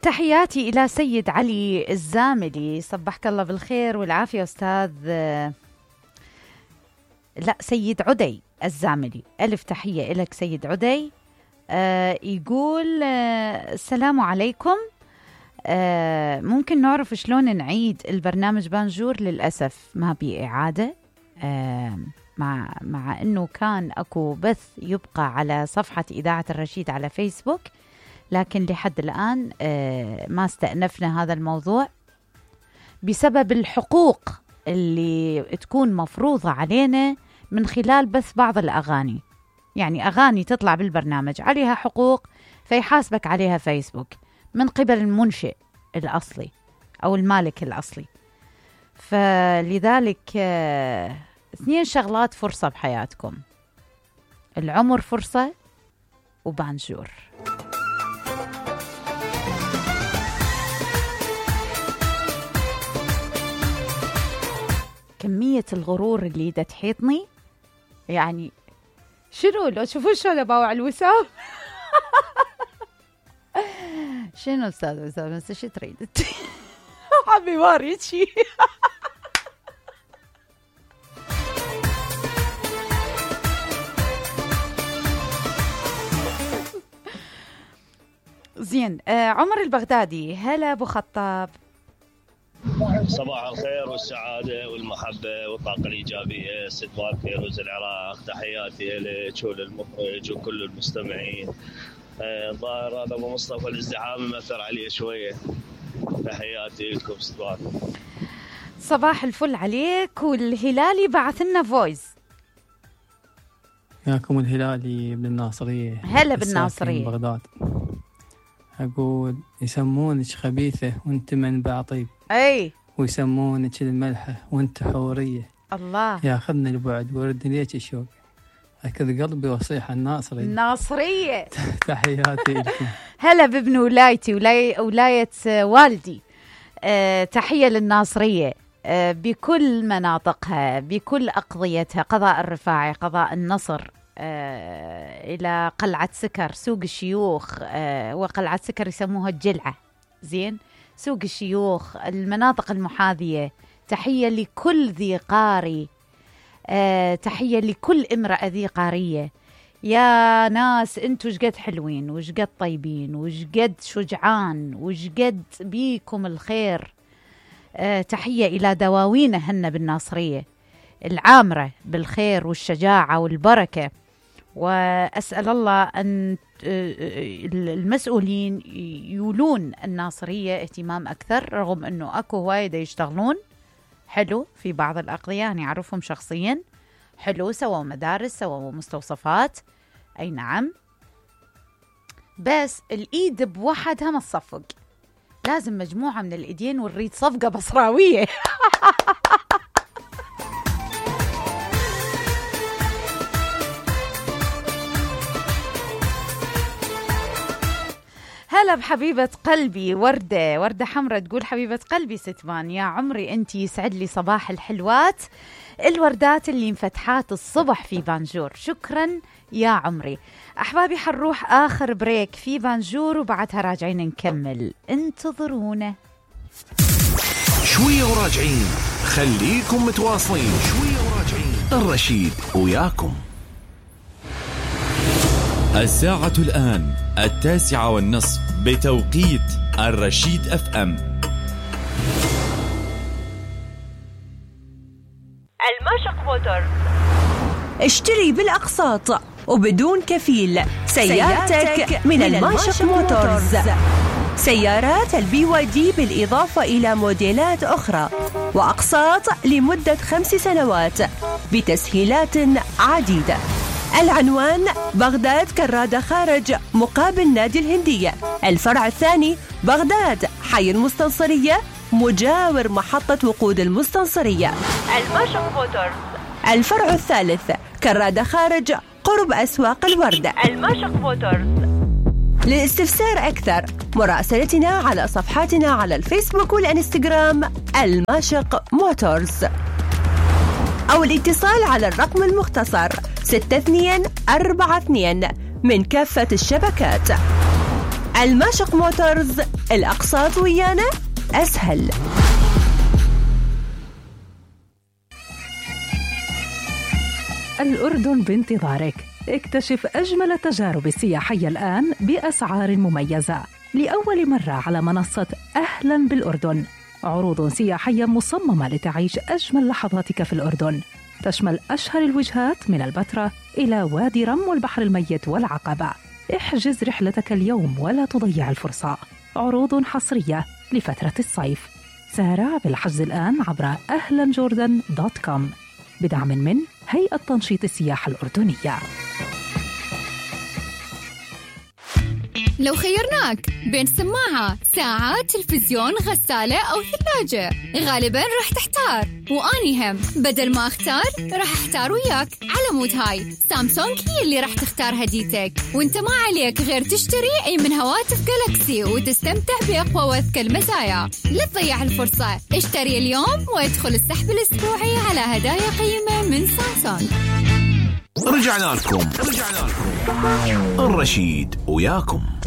تحياتي إلى سيد علي الزاملي، صبحك الله بالخير والعافية أستاذ. لا، سيد عدي الزاملي، ألف تحية إلك سيد عدي. يقول السلام عليكم، ممكن نعرف شلون نعيد البرنامج بانجور؟ للأسف ما بي إعادة، مع أنه كان أكو بث يبقى على صفحة إذاعة الرشيد على فيسبوك، لكن لحد الآن ما استأنفنا هذا الموضوع بسبب الحقوق اللي تكون مفروضة علينا من خلال بث بعض الأغاني. يعني أغاني تطلع بالبرنامج عليها حقوق، فيحاسبك عليها فيسبوك من قبل المنشئ الأصلي أو المالك الأصلي. فلذلك 2 شغلات فرصة بحياتكم: العمر فرصة، وبانجور. كمية الغرور اللي دا تحيطني، يعني شنو لو تشوفون شلون باوع الوسام. شنو استاذ وسام، بس شو تريد؟ حبي ما اريد شي. زين. عمر البغدادي، هلا ابو خطاب. صباح الخير والسعادة والمحبة والطاقة الإيجابية. استقبال فيروز العراق، تحياتي لك وللمخرج وكل المستمعين. الظاهر هذا أبو مصطفى الازدحام مأثر عليه شوية. تحياتي لكم استقبال. صباح الفل عليك. والهلالي بعث لنا فويس. ياكم الهلالي بالناصرية. هلا بالناصرية بغداد. أقول يسمونك خبيثة وانت منبع طيب، أي، ويسمونك الملحة وانت حورية. الله ياخذني البعد ورد ليك الشوق، أكد قلبي وصيح الناصرية. تحياتي لكم. هلا بابن ولايتي، ولاية والدي. تحية للناصرية بكل مناطقها، بكل أقضيتها، قضاء الرفاعي، قضاء النصر، إلى قلعة سكر، سوق الشيوخ، وقلعة سكر يسموها الجلعة. زين، سوق الشيوخ، المناطق المحاذية. تحية لكل ذي قاري، تحية لكل امرأة ذي قارية. يا ناس انتو شقد حلوين وشقد طيبين وشقد شجعان وشقد بيكم الخير. تحية إلى دواوينهن بالناصرية العامرة بالخير والشجاعة والبركة. وأسأل الله أن المسؤولين يولون الناصرية اهتمام أكثر، رغم أنه أكو هواية يشتغلون حلو في بعض الأقضية، يعني أعرفهم شخصيا حلو، سووا مدارس، سووا مستوصفات، أي نعم، بس الإيد بوحدها ما تصفق، لازم مجموعة من الإيدين ونريد صفقة بصراوية. هلا بحبيبة قلبي وردة حمرة، تقول حبيبة قلبي ستمان، يا عمري أنتي، يسعد لي صباح الحلوات، الوردات اللي انفتحات الصبح في بانجور. شكرا يا عمري. أحبابي حنروح آخر بريك في بانجور وبعدها راجعين نكمل، انتظرونا. شوية وراجعين، خليكم متواصلين. شوية وراجعين، الرشيد وياكم. الساعة الآن 9:30 بتوقيت الرشيد FM. الماشق موتور، اشتري بالأقساط وبدون كفيل سيارتك من الماشق موتورز. سيارات الBYD بالإضافة إلى موديلات أخرى، وأقساط لمدة 5 سنوات بتسهيلات عديدة. العنوان: بغداد كرادة خارج مقابل نادي الهندية. الفرع الثاني بغداد حي المستنصرية مجاور محطة وقود المستنصرية. الماشق موتورز. الفرع الثالث كرادة خارج قرب أسواق الوردة. الماشق موتورز. للاستفسار أكثر مراسلتنا على صفحاتنا على الفيسبوك والإنستغرام الماشق موتورز، أو الاتصال على الرقم المختصر 6242 من كافة الشبكات. الماشق موتورز، الأقساط ويانا أسهل. الأردن بانتظارك. اكتشف أجمل التجارب السياحية الآن بأسعار مميزة لأول مرة على منصة أهلاً بالأردن. عروض سياحية مصممة لتعيش أجمل لحظاتك في الأردن، تشمل أشهر الوجهات من البتراء إلى وادي رم والبحر الميت والعقبة. احجز رحلتك اليوم ولا تضيع الفرصة. عروض حصرية لفترة الصيف. سارع بالحجز الآن عبر ahlanjordan.com بدعم من هيئة تنشيط السياحة الأردنية. لو خيرناك بين سماعة، ساعة، تلفزيون، غسالة أو ثلاجة، غالباً رح تحتار، وأني هم بدل ما أختار رح أحتار وياك. على مود هاي سامسونج هي اللي رح تختار هديتك، وانت ما عليك غير تشتري أي من هواتف جالاكسي وتستمتع بأقوى وأذكى المزايا. لا تضيع الفرصة، اشتري اليوم وادخل السحب الأسبوعي على هدايا قيمة من سامسونج. رجعنا لكم الرشيد وياكم.